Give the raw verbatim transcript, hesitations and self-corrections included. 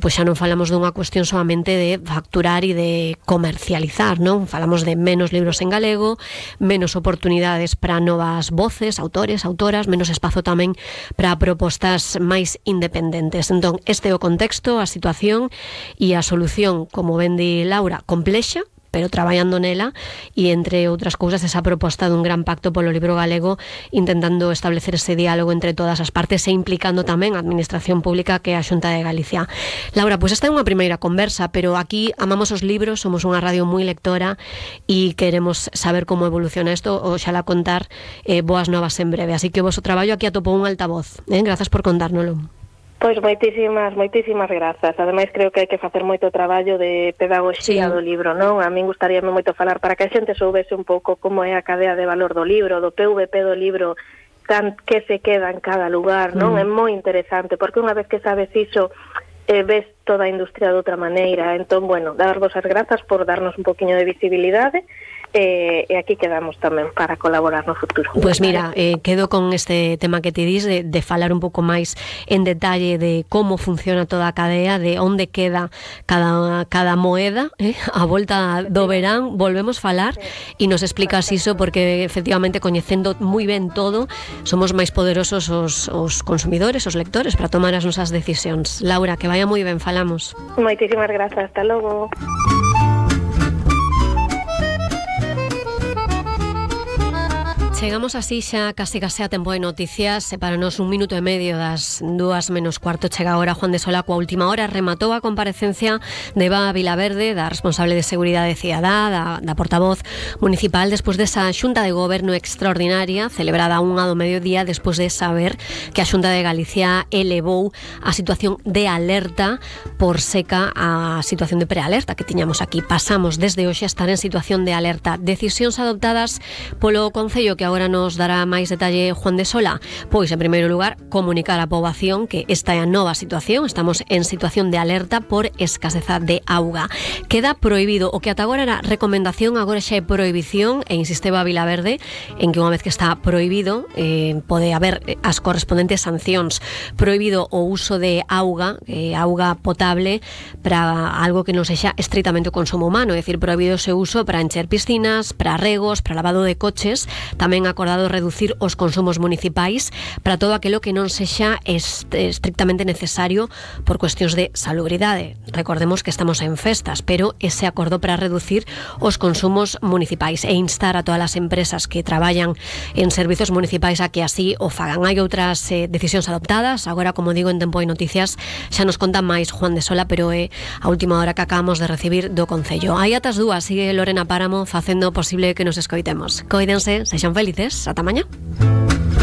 pois xa non falamos dunha cuestión solamente de facturar e de comercializar, non? Falamos de menos libros en galego, menos oportunidades para novas voces, autores, autoras, menos espazo tamén para propostas máis independentes. Entón, este é o contexto, a situación e a solución, como ben di Laura, complexa, pero traballando nela, e entre outras cousas esa proposta dun gran pacto polo libro galego, intentando establecer ese diálogo entre todas as partes e implicando tamén a administración pública, que é a Xunta de Galicia. Laura, pois esta é unha primeira conversa, pero aquí amamos os libros, somos unha radio moi lectora e queremos saber como evoluciona isto, oxalá contar eh, boas novas en breve, así que o vosso traballo aquí atopou un altavoz, eh? Grazas por contárnolo. Pois moitísimas, moitísimas grazas. Ademais, creo que hai que facer moito traballo de pedagogía sí. do libro, non? A min gustaríame moito falar para que a xente soubese un pouco como é a cadea de valor do libro, do P V P do libro, can, que se queda en cada lugar, non? Mm. É moi interesante, porque unha vez que sabes iso, eh, ves toda a industria de outra maneira. Entón, bueno, darvos as grazas por darnos un poquinho de visibilidade, e, e aquí quedamos tamén para colaborar no futuro. Pois pues mira, eh, quedo con este tema que te dis de, de falar un pouco máis en detalle de como funciona toda a cadea, de onde queda cada, cada moeda, eh? A volta do verán volvemos falar e nos explicas iso, porque efectivamente coñecendo moi ben todo somos máis poderosos os, os consumidores, os lectores, para tomar as nosas decisións. Laura, que vaya moi ben, falamos. Moitísimas grazas, hasta logo. Chegamos así xa casi case a tempo de noticias, e para nos un minuto e medio das dúas menos cuarto chega agora Juan de Sola coa última hora. Rematou a comparecencia de Eva Vilaverde, da responsable de Seguridade Cidadá, da, da portavoz municipal, despois desa xunta de goberno extraordinaria celebrada a unha do mediodía, despois de saber que a Xunta de Galicia elevou a situación de alerta por seca a situación de prealerta que tiñamos aquí. Pasamos desde hoxe a estar en situación de alerta. Decisións adoptadas polo Concello, que agora nos dará máis detalle Juan de Sola. Pois, en primeiro lugar, comunicar á poboación que esta é a nova situación. Estamos en situación de alerta por escaseza de auga. Queda prohibido, o que ata agora era recomendación, agora xa é prohibición, e insisteba Vilaverde en que unha vez que está prohibido eh, pode haber as correspondentes sancións. Prohibido o uso de auga, eh, auga potable, para algo que non sexa estritamente o consumo humano, é dicir, prohibido o seu uso para encher piscinas, para regos, para lavado de coches. Tamén acordado reducir os consumos municipais para todo aquilo que non sexa est- estrictamente necesario por cuestións de salubridade. Recordemos que estamos en festas, pero ese acordo para reducir os consumos municipais e instar a todas as empresas que traballan en servizos municipais a que así o fagan. Hai outras eh, decisións adoptadas, agora, como digo, en Tempo de Noticias xa nos conta máis Juan de Sola, pero é a última hora que acabamos de recibir do Concello. Aí atas dúas sigue Lorena Páramo facendo posible que nos escoitemos. Coídense, sexan felices, ata mañá.